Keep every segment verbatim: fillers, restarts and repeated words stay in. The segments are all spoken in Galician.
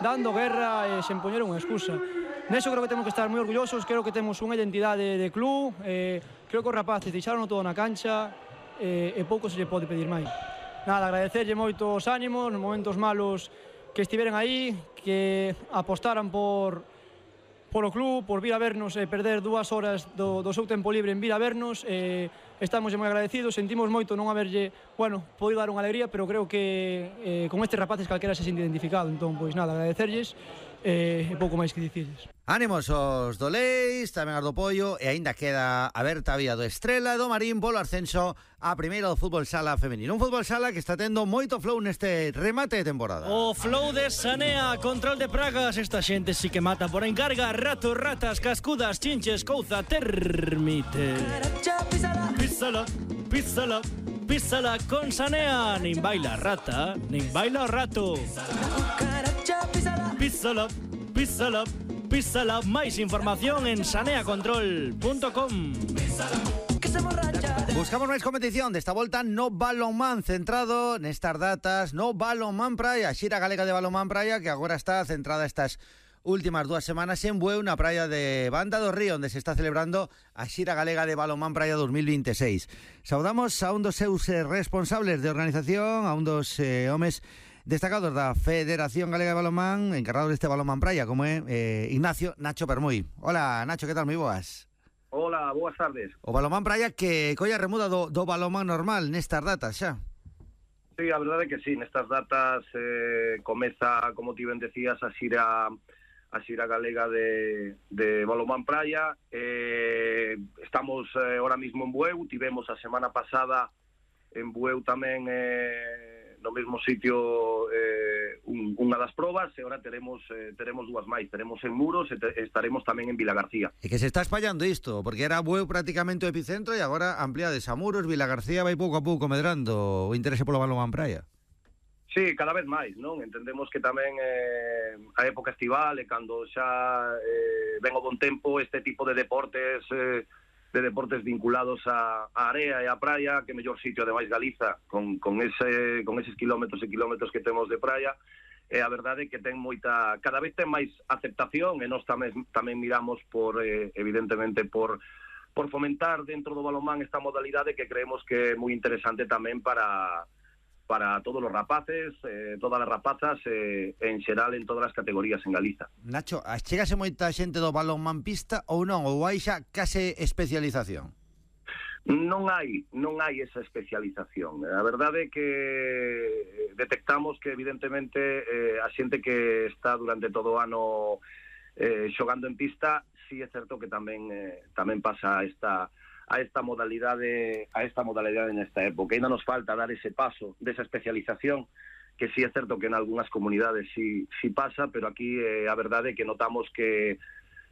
dando guerra e sen poñer unha excusa. Neso creo que temos que estar moi orgullosos, creo que temos unha identidade de club, eh, creo que os rapaces deixaron todo na cancha eh, e pouco se lle pode pedir máis. Nada, agradecerlle moito os ánimos, nos momentos malos que estiveran aí, que apostaran por polo club, por vir a vernos e perder dúas horas do, do seu tempo libre en vir a vernos. Eh, estamos moi agradecidos, sentimos moito non haberlle, bueno, podido dar unha alegría, pero creo que eh, con estes rapaces calquera se sente identificado. Entón, pois nada, agradecerlles e eh, pouco máis que dicirles. Ánimos os do Leis, tamén as do Pollo, e aínda queda aberta a vía do Estrela do Marín polo ascenso a primeira do fútbol sala femenino. Un fútbol sala que está tendo moito flow neste remate de temporada. O flow de Sanea, control de pragas, esta xente sí que mata por encarga, ratos, ratas, cascudas, chinches, couza, termite. Písala, písala, písala con Sanea, nin baila rata, nin baila rato. Písala, písala, písala, máis información en sanea control punto com. Buscamos máis competición desta volta no balonmán, centrado nestas datas no balonmán praia, xira galega de balonmán praia que agora está centrada estas últimas dúas semanas en Bueu, na praia de Banda do Río, onde se está celebrando a xira galega de balonmán praia dos mil veintiséis. Saudamos a un dos seus eh, responsables de organización, a un dos eh, homes destacados da Federación Galega de Balonmán, encargado deste balonmán praia, como é eh, Ignacio Nacho Permuy. Hola, Nacho, que tal? Moi boas. Hola, boas tardes. O balonmán praia que colla remuda do, do balonmán normal nestas datas xa. Sí, a verdade é que sí, nestas datas eh, comeza, como ti ben decías, a xira a xira galega de, de balonmán praia. Eh, estamos eh, ahora mismo en Bueu, tivemos a semana pasada en Bueu tamén eh, no mesmo sitio eh, un, unha das probas, e agora teremos eh, teremos dúas máis, teremos en Muros e te, estaremos tamén en Vilagarcía. E que se está espallando isto, porque era Bueu prácticamente o epicentro e agora ampliades a Muros, Vilagarcía vai pouco a pouco medrando o interese polo balonmán praia. Sí, cada vez máis, non? Entendemos que tamén eh, a época estival e cando xa eh, ven o bon tempo, este tipo de deportes eh, de deportes vinculados a, a area e a praia, que mellor sitio ademais Galiza, con, con, ese, con eses kilómetros e kilómetros que temos de praia, e a verdade é que ten moita, cada vez ten máis aceptación, e nós tamén, tamén miramos por, eh, evidentemente, por, por fomentar dentro do balonmán esta modalidade que creemos que é moi interesante tamén para para todos os rapaces, eh, todas as rapazas, eh, en xeral en todas as categorías en Galiza. Nacho, chegase moita xente do balonmán pista ou non? Ou hai xa case especialización? Non hai, non hai esa especialización. A verdade é que detectamos que evidentemente eh, a xente que está durante todo o ano eh, xogando en pista, sí é certo que tamén eh, tamén pasa esta a esta modalidade a esta modalidade nesta época. Ainda nos falta dar ese paso desa especialización, que sí é certo que en algunhas comunidades sí, sí pasa, pero aquí eh, a verdade é que notamos que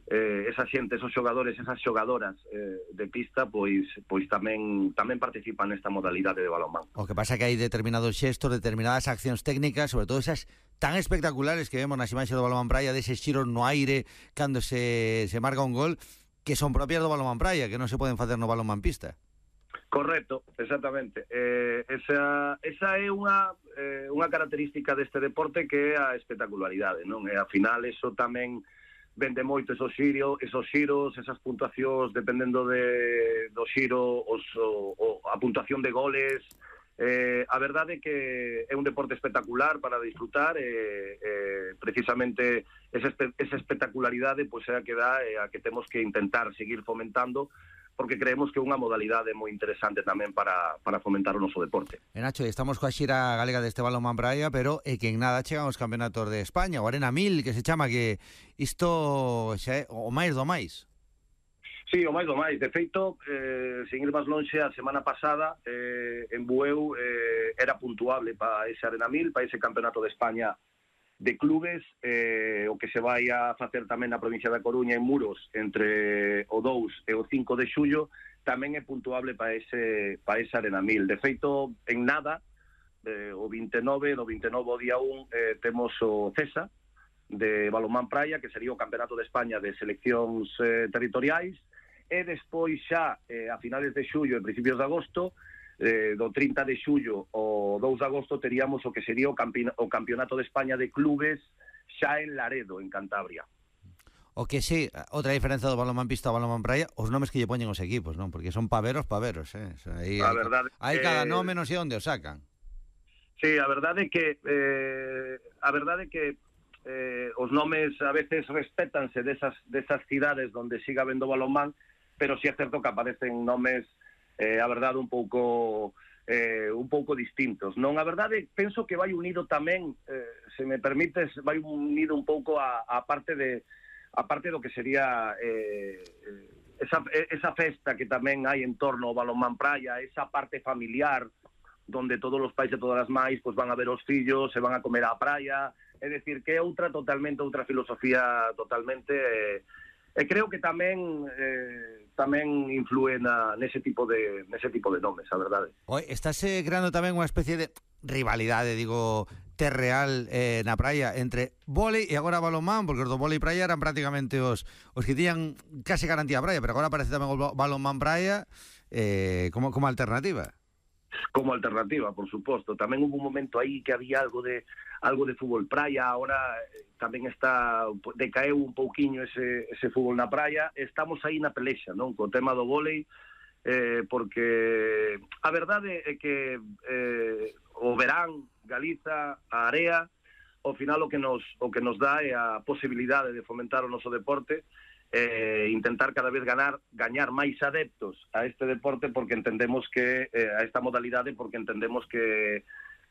eh, esa xente, esos xogadores, esas xogadoras eh, de pista, pois pois tamén tamén participan nesta modalidade de balonmán. O que pasa é que hai determinados xestos, determinadas accións técnicas, sobre todo esas tan espectaculares que vemos nas imaxes do balonmán praia, deses xiros no aire cando se, se marca un gol, que son propias do balonmán praia, que non se poden facer no balonmán pista. Correcto, exactamente. Eh, esa, esa é unha eh, unha característica deste deporte, que é a espectacularidade, non? E ao final eso tamén vende moito, esos xiros, esos xiros, esas puntuacións dependendo de do xiro, os, o, o, a puntuación de goles. Eh, a verdade é que é un deporte espectacular para disfrutar, e eh, eh, precisamente esa, esa espectacularidade pois é a que dá, e a que temos que intentar seguir fomentando, porque creemos que é unha modalidade moi interesante tamén para, para fomentar o noso deporte. E Nacho, estamos coa xira galega deste balonmán praia, pero é que en nada chegan os campeonatos de España, o Arena mil, que se chama, que isto xa é o máis do máis. Sí, o máis do máis. De feito, eh, sin ir máis lonxe, a semana pasada eh, en Bueu eh, era puntuable para ese Arena mil, para ese campeonato de España de clubes, eh, o que se vai a facer tamén na provincia da Coruña, en Muros, entre o dous e o cinco de xullo, tamén é puntuable para ese, para ese Arena mil. De feito, en nada, eh, o vinte e nove, do vinte e nove ao día un, eh, temos o CESA, de balonmán praia, que sería o campeonato de España de seleccións eh, territoriais, e despois xa eh, a finales de xullo e principios de agosto, eh, do trinta de xullo ao dous de agosto, teríamos o que sería o, campi o campeonato de España de clubes xa en Laredo, en Cantabria. O que sí, outra diferenza do balonmán pista ao balonmán praia, os nomes que lle poñen os equipos, non? Porque son paveros, paveros, eh? O sea, aí A hai, verdade hai que- cada nome, non sei onde o sacan. Sí, a verdade é que eh, a verdade é que eh, os nomes a veces respétanse desas, desas cidades onde siga habendo balonmán, pero si é certo que aparecen nomes eh, a verdade un pouco eh, un pouco distintos. Non, a verdade penso que vai unido tamén, eh, se me permites, vai unido un pouco a, a parte de a parte do que sería eh, esa, esa festa que tamén hai en torno ao balonmán praia, esa parte familiar donde todos os pais e todas as mães pues, van a ver os fillos, se van a comer á praia, é dicir, que é outra totalmente, outra filosofía totalmente, eh, e creo que tamén eh, tamén influe na, nese tipo de nese tipo de nomes, a verdade. Oi, estáse creando tamén unha especie de rivalidade, digo, terreal eh, na praia entre vólei e agora balonmán, porque os do vólei praia eran prácticamente os, os que tiñan case garantía a praia, pero agora aparece tamén o balonmán praia eh, como, como alternativa. Como alternativa, por suposto. Tamén hubo un momento aí que había algo de algo de fútbol praia, ahora tamén está decaeu un pouquiño ese, ese fútbol na praia. Estamos aí na pelexa, non? Co tema do vólei, eh, porque a verdade é que eh, o verán, Galiza, a area, ao final o que nos o que nos dá é a posibilidade de fomentar o noso deporte, eh, intentar cada vez ganar gañar máis adeptos a este deporte, porque entendemos que eh, a esta modalidade, porque entendemos que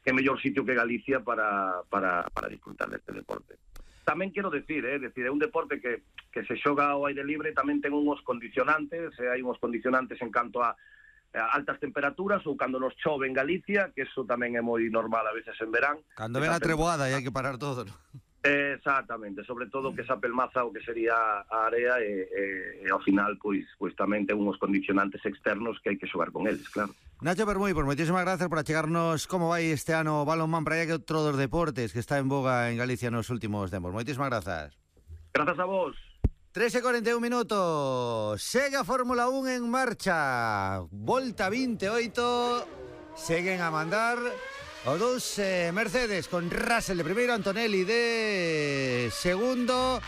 que é mellor sitio que Galicia para para para disfrutar deste deporte. Tamén quero decir, eh, decir, é un deporte que que se xoga ao aire libre, tamén ten unhos condicionantes, eh, hai unhos condicionantes en canto a altas temperaturas ou cando nos chove en Galicia, que eso tamén é moi normal a veces en verán. Cando ven a treboada e hai que parar todo, ¿no? Exactamente, sobre todo que esa pelmaza o que sería a área e, e, e ao final pois pois tamén ten uns condicionantes externos que hai que xogar con eles, claro. Nacho Permuy, pues moitísimas gracias por achegarnos como vai este ano o balonmán praia, que outro dos deportes que está en boga en Galicia nos últimos tempos. Moitísimas grazas. Grazas a vos. tres e cuarenta e un minutos. Segue a Fórmula un en marcha. Volta vinte e oito. Seguen a mandar os dous eh, Mercedes con Russell de primeiro, Antonelli de segundo,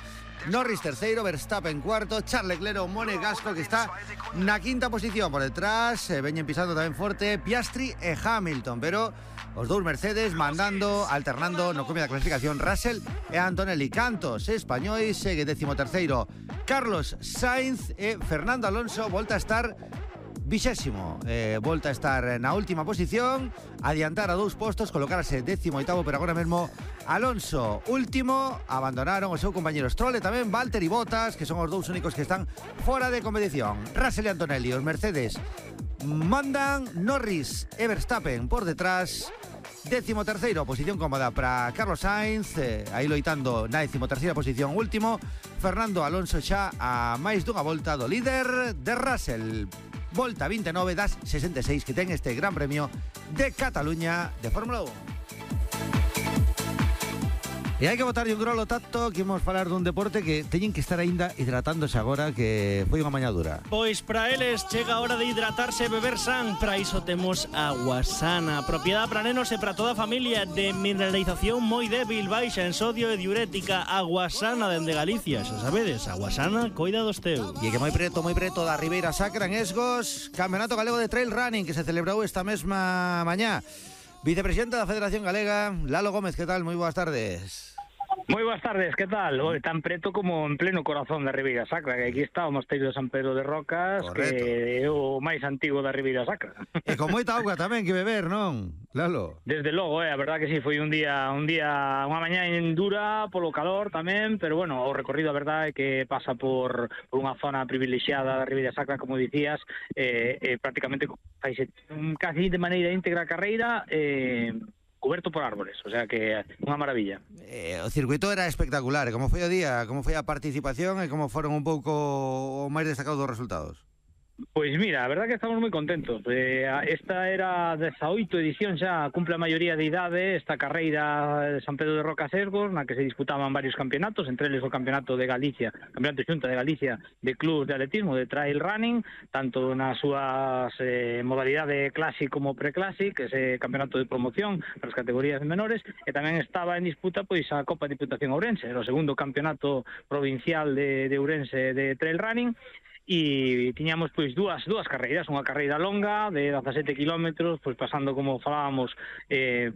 Norris terceiro, Verstappen cuarto, Charles Leclerc, Monegasco que está na quinta posición por detrás, eh, veñen pisando tamén forte Piastri e Hamilton, pero os dous Mercedes mandando, alternando no come da clasificación Russell e Antonelli. Cantos españois, segue décimo terceiro Carlos Sainz e Fernando Alonso volta a estar vixésimo, eh, volta a estar na última posición, adiantar a dous postos, colocarse décimo oitavo, pero agora mesmo Alonso último, abandonaron o seu compañero Stroll e tamén Valtteri Bottas, que son os dous únicos que están fora de competición. Russell e Antonelli, os Mercedes mandan, Norris e Verstappen por detrás. Décimo terceiro, posición cómoda para Carlos Sainz, eh, aí loitando na décimo terceira posición último, Fernando Alonso xa a máis dunha volta do líder de Russell. Volta vinte e nove das sesenta e seis que ten este Gran Premio de Cataluña de Fórmula un. E hai que botarlle un grolo tacto, que imos falar dun deporte que teñen que estar aínda hidratándose agora, que foi unha mañá dura. Pois para eles chega a hora de hidratarse e beber san. Para iso temos Agua Sana, propiedade para nenos e para toda a familia, de mineralización moi débil, baixa en sodio e diurética. Agua Sana dende Galicia, xa sabedes, Agua Sana coida dos teus. E que moi preto, moi preto da Ribeira Sacra en Esgos, Campeonato Galego de Trail Running que se celebrou esta mesma mañá. Vicepresidente da Federación Galega, Lalo Gómez, que tal? Moi boas tardes. Moi boas tardes, que tal? Oi, tan preto como en pleno corazón da Ribeira Sacra, que aquí está o Mosteiro de San Pedro de Rocas, correcto, que é o máis antigo da Ribeira Sacra. E con moita auga tamén que beber, non, Lalo? Desde logo, eh, a verdad que sí, foi un día, un día, unha mañá dura polo calor tamén, pero bueno, o recorrido a verdade é que pasa por, por unha zona privilexiada da Ribeira Sacra, como dicías, eh, eh, prácticamente faise casi de maneira íntegra a carreira, eh, coberto por árboles, o sea que unha maravilla. Eh, o circuito era espectacular, e como foi o día, como foi a participación e como foron un pouco o máis destacados dos resultados? Pois mira, a verdad que estamos moi contentos. Eh, esta era a dezaoito edición xa, cumple a maioría de idade esta carreira de San Pedro de Rocasesgos, na que se disputaban varios campeonatos, entre eles o Campeonato de Galicia, Campeonato Xunta de Galicia de clubs de atletismo, de trail running, tanto nas súas eh, modalidade classic como pre-classic, ese campeonato de promoción para as categorías menores, e tamén estaba en disputa pois a Copa Diputación Ourense, era o segundo campeonato provincial de, de Ourense de trail running, e tiñamos pois dúas dúas carreiras, unha carreira longa de dezasete kilómetros, pois pasando, como falábamos, eh,